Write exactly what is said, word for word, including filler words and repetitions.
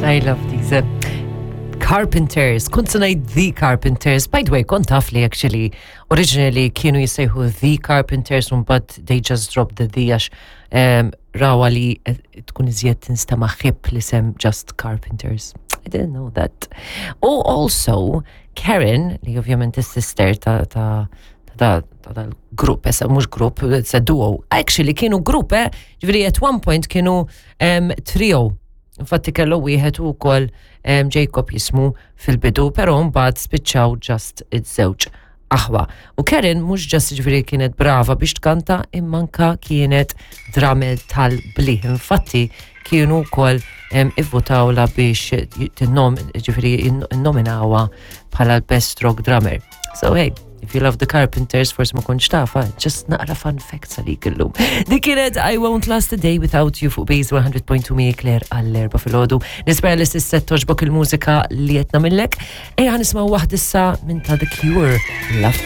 I love these. Uh, Carpenters, kont se ngħid The Carpenters. By the way, kont taf li actually originally kienu jissejħu The Carpenters, but they just dropped the The għax um, rawa li eh, tkun iżjed tinstama hip l-isem just Carpenters. I didn't know that. Oh, also, Karen, li ovvjament is-sister ta' ta' ta' ta' dal-grupp, issa mhux grupp, it's a duo. Actually, kienu grupp, eh? Ġifieri at one point kienu um, trio. Infatti kellu wieħed ukoll um, Jacob jismu fil-bidu, però mbagħad spiċċaw just iż-żewġ aħwa. U Karen mhux just ġifieri kienet brava biex tkanta, imma anka kienet drummer tal-bliħ. Infatti kienu wkoll um, ivvutawla biex tinnom, ġifieri innominawha bħala l-best rock drummer. So hey, if you love the Carpenters, forsi ma kontx tafha, just naqra fun facts għalik illum. Dik kienet I Won't Last a Day Without You fuq Base one hundred point two mi Claire għall-erba filgħodu. Nispera li s'issa togħġbok il-mużika li qed nagħmillek. Ejja nisimgħu waħda issa minn ta' The Cure, Love.